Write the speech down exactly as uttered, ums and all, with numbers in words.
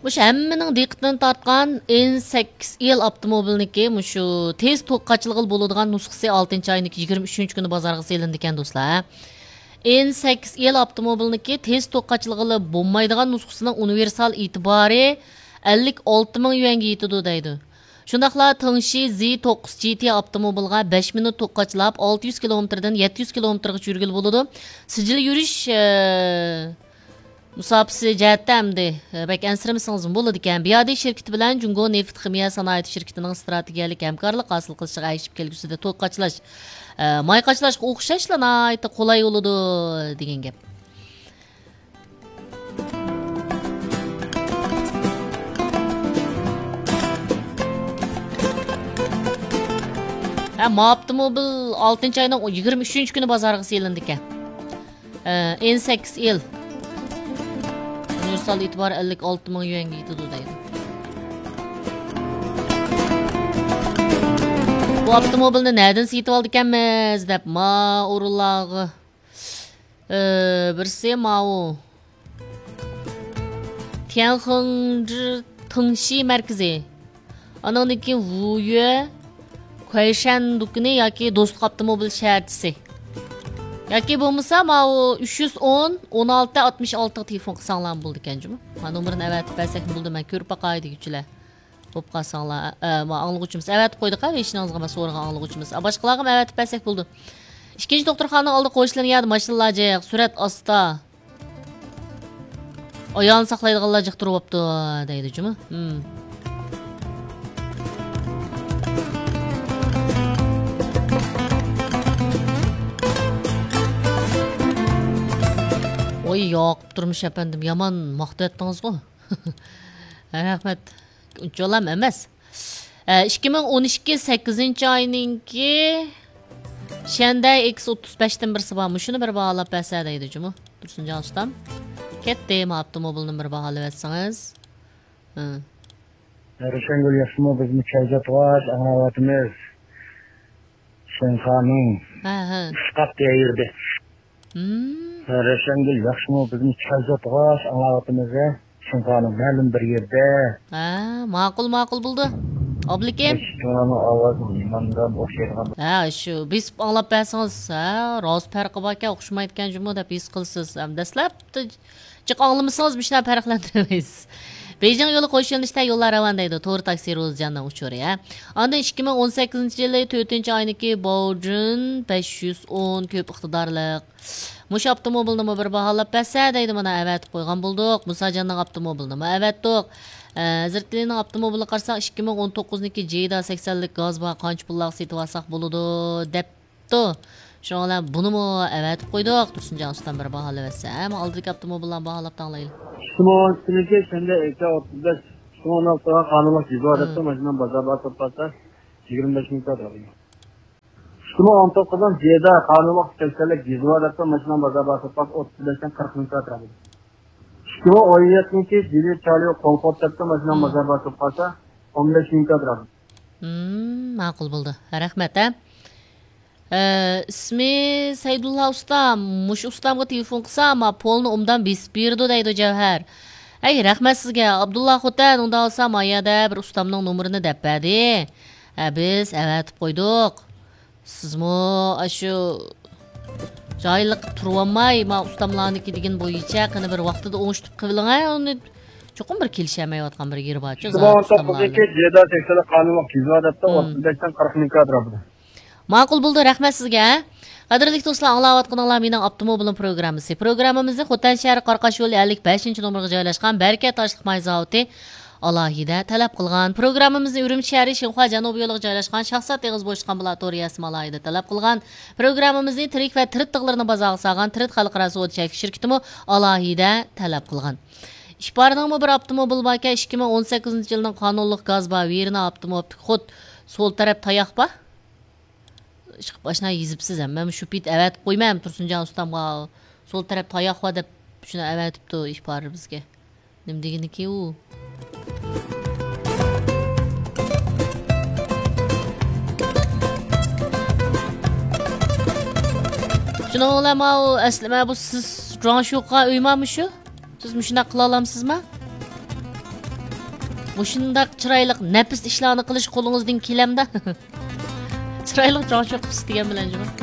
مۇشۇ ھەممىنىڭ دىققىتىنى تارتقان ئېن سەككىز ئېل ئاپتوموبىلنىڭكى مۇشۇ تېز توك قاچىلىغىلى بولىدىغان نۇسخىسى ئالتىنچى ئاينىڭكى يىگىرمە ئۈچىنچى كۈنى بازارغا سېلىنىدىكەن، دوستلار. ئېن سەككىز ئېل ئاپتوموبىلنىڭكى تېز توك قاچىلىغىلى بولمايدىغان نۇسخىسىنىڭ ئۇنىۋېرسال ئېتىبارى ئەللىك ئالتە مىڭ يۈەنگە يېتىدۇ دەيدۇ. شۇنداقلا تېڭشى زى توققۇز جى تى ئاپتوموبىلغا بەش مىنۇت توك قاچىلاپ، ئالتە يۈز كىلومېتىردىن يەتتە يۈز كىلومېتىرغىچە يۈرگىلى بولىدۇ. سىجىل يۈرۈش، ئە، مۇساپىسى جەھەتتە ئەمدى، ئە، بەك ئەنسىرىمىسىڭىزمۇ بولىدىكەن. بىيادى شىركىتى بىلەن جۇڭگو نېفىت خىمىيە سانائىتى شىركىتىنىڭ ئىستراتېگىيەلىك ھەمكارلىق ھاسىل قىلىشىغا ئەگىشىپ كەلگۈسىدە توك قاچىلاش، ئە، ماي قاچىلاشقا ئوخشاشلا ناھايىتى قولاي بولىدۇ دېگەن گەپ. ھە، ما ئاپتوموبىل ئالتىنچى ئاينىڭ يىگىرمە ئۈچىنچى كۈنى بازارغا سېلىندىكەن. ئە، ئېن سەككىز ئېل. ئۇنىۋېرسال ئېتىبارى ئەللىك ئالتە مىڭ يۈەنگە يېتىدۇ دەيدۇ. بۇ ئاپتوموبىلنى نەدىن سېتىۋالىدىكەنمىز دەپ ما ئورۇنلارغا، ئە، بىرسى ماۋۇ تيەنخېڭجى تېڭشى مەركىزى. ئانىڭدىن كېيىن ۋۇيۈ، كۇەيشەن دۇكىنى ياكى دوستلۇق ئاپتوموبىل شەھەرچىسى. ياكى بولمىسا ماۋۇ ئۈچ يۈز ئون، ئون ئالتە، ئاتمىش ئالتىغا تېلېفون قىلساڭلارمۇ بولىدىكەن جۇمۇ. ما نومۇرىنى ئەۋەتىپ بەرسەكمۇ بولىدۇ، مەن كۆرۈپ باقاي دېگۈچىلەر. بولۇپ قالساڭلار، ئە، ئە، ما ئاڭلىغۇچىمىز ئەۋەتىپ قويدۇق ھە، ھېچنىڭىزغا ما سورىغان ئاڭلىغۇچىمىز. ئە، باشقىلارغىمۇ ئەۋەتىپ بەرسەك بولىدۇ. ئىككىنچى دوختۇرخانىنىڭ ئالدى قوشۇلىدىغان يەردە ماشىنىلار جىق، سۈرئەت ئاستا. ئايالنى ساقلايدىغانلار جىق تۇرۇۋاپتۇ، دەيدۇ جۇمۇ. ھىم. ۋاي، ياقۇپ تۇرمۇش ئەپەندىم، يامان ماختىۋەتتىڭىزغۇ. رەھمەت. ئۇنچىۋالام ئەمەس. ئە، ئىككى مىڭ ئون ئىككى سەككىزىنچى ئاينىڭكى شەندەي ئېكس ئوتتۇز بەشتىن بىرسى بار. مۇشۇنى بىر باھالاپ بەرسە دەيدۇ جۇمۇ. تۇرسۇنجان ئۇستام. كەتتى، ما ئاپتوموبىلنى بىر باھالاۋەتسىڭىز. ھە. روشەنگۈل ياخشىمۇ؟ بىزمۇ چاي زاتىغاچ ئاڭلاۋاتىمىز. شىنخانىڭ ھە، ھە. ئىسقاپ دېگەن يېرىدە. ھىم. روشەنگۈل ياخشىمۇ؟ بىزمۇ چاي زاتىغاچ ئاڭلاۋاتىمىز ھە. شىنخانىڭ مەلۇم بىر يېرىدە. ھە، ماقۇل، ماقۇل بولدى. ئابلىكىم. شىنخانىڭ ئاۋازى نېماندام ئوخشايدىغان. ھە، شۇ بېسىپ ئاڭلاپ بەرسىڭىز، ھە، راست پەرقى باركەن، ئوخشىمايدىكەن جۇمۇ دەپ ھېس قىلىسىز. ھەم دەسلەپتە جىق ئاڭلىمىسىڭىز مۇشۇنداق پەرقلەندۈرەلمەيسىز. بېيجىڭ يولى قوش يۆنىلىشتە يوللار راۋان دەيدۇ، تور تاكسى روزىجاننىڭ ئۇچۇرى، ھە. ئاندىن ئىككى مىڭ ئون سەككىزىنچى يىلى تۆتىنچى ئاينىڭكى باۋجۈن بەش يۈز ئون كۆپ ئىقتىدارلىق. مۇشۇ ئاپتوموبىلنىمۇ بىر باھالاپ بەرسە دەيدۇ، مانا ئەۋەتىپ قويغان بولدۇق. مۇساجاننىڭ ئاپتوموبىلىنىمۇ ئەۋەتتۇق. ئە، ھەزرىتىلىنىڭ ئاپتوموبىلىغا قارىساق، ئىككى مىڭ ئون توققۇزنىڭكى جېدا سەكسەنلىك گاز بار، قانچە پۇللارغا سېتىۋالساق بولىدۇ دەپ بوپتۇ. شۇنىڭ بىلەن بۇنىمۇ ئەۋەتىپ قويدۇق، تۇرسۇنجان ئۇستام بىر باھالاۋەتسە. ھەم ئالدىدىكى ئاپتوموبىللارنى باھالاپ تەڭلەيلى. ئىككى مىڭ ئون ئىككىنچى شەنبە ئېكى ئوتتۇز بەش، ئىككى مىڭ ئون ئالتىغا قانۇنلۇق يۈز ۋە دەپتۇ، ماشىنام بازار بار سوتقانسا يىگىرمە بەش مىڭ كادىر. ئىككى مىڭ ئون توققۇزنىڭ جېدا قانۇنلۇق كەلسەنلىك يۈز ۋە دەپتۇ، ماشىنام بازار بار سوتقانسا ئوتتۇز بەشتىن قىرىق مىڭ كادىر. ئىككى مىڭ ئون يەتتىنچى جىلى چاليو كومفورت دەپتۇ، ماشىنام بازار بار سوتقانسا ئون بەش مىڭ كادىر. ھىم، ماقۇل بولدى. رەھمەت ھە. ئە، ئىسمى سەيدۇللا ئۇستام. مۇشۇ ئۇستامغا تېلېفون قىلسام، ما پولنى ئوبدان بېسىپ بېرىدۇ دەيدۇ جەۋھەر. ئەي، رەھمەت سىزگە. ئابدۇللا خوتەن، ئۇنداق بولسا ما يەردە بىر ئۇستامنىڭ نومۇرىنى دەپ بەردى. ھە، بىز ئەۋەتىپ قويدۇق. سىزمۇ ئاشۇ جاھىللىق قىلىپ تۇرۇۋالماي، ما ئۇستاملارنىڭكى دېگىنى بويىچە قېنى بىر ۋاقتىدا ئوڭشىتىپ قىلىۋېلىڭ ھە، ئۇنى چوقۇم بىر كېلىشەلمەيۋاتقان بىر يېرى بارچۇ، ئىككى مىڭ ئون توققۇزدىكى جېدا سەكسەنلىك قانۇنلۇق يۈز ۋە دەپتۇ، ھىم. ئوتتۇز بەشتىن قىرىق مىڭ كادىر. ماقۇل بولدى، رەھمەت سىزگە. قەدىرلىك دوستلار، ئاڭلاۋاتقىنىڭلار مېنىڭ ئاپتوموبىلىم پروگراممىسى. پروگراممىمىزنى خوتەن شەھىرى قاراقاش يولى ئەللىك بەشىنچى نومۇرغا جايلاشقان بەرىكەت ئاشلىق ماي زاۋۇتى ئالاھىدە تەلەپ قىلغان. پروگراممىمىزنى ئۈرۈمچى شەھىرى شىنخۇا جەنۇبىي يولىغا جايلاشقان شاھزات ئېغىز بوشتۇخان بۇلار تور يەسىمۇ ئالاھىدە تەلەپ قىلغان. پروگراممىمىزنى تىرىك ۋە تىرىت تىغلىرىنى بازارغا سالغان تىرىت خەلقئارا سودا چەكلىك شىركىتىمۇ ئالاھىدە تەلەپ قىلغان. ئىپارنىڭمۇ بىر ئاپتوموبىلى باركەن، ئىككى مىڭ ئون سەككىزىنچى يىلنىڭ قانۇنلۇق گاز بار، ۋېرنا ئاپتوموبىل خود سول تەرەپ تاياق بار. ئىشقىپ ئاشۇنداق يېزىپسىز ھەم. مەن شۇ پېتى ئەۋەتىپ قويمەن تۇرسۇنجان ئۇستامغا. سول تەرەپ تاياق بار دەپ شۇنى ئەۋەتىپتۇ ئىپارى بىزگە. نېمە دېگىنىكى ئۇ؟ شۇنىڭ بىلەن ماۋۇ ئەسلى مانا بۇ سىز جۇاڭشۇقا ئۆيما مۇشۇ؟ سىز مۇشۇنداق قىلالامسىزما؟ مۇشۇنداق چىرايلىق نەپىس ئىشلارنى قىلىش قولىڭىزدىن كېلەمدۇ؟ چىرايلىق جاڭشۇ قىپسىز دېگەن بىلەن جۇمۇ.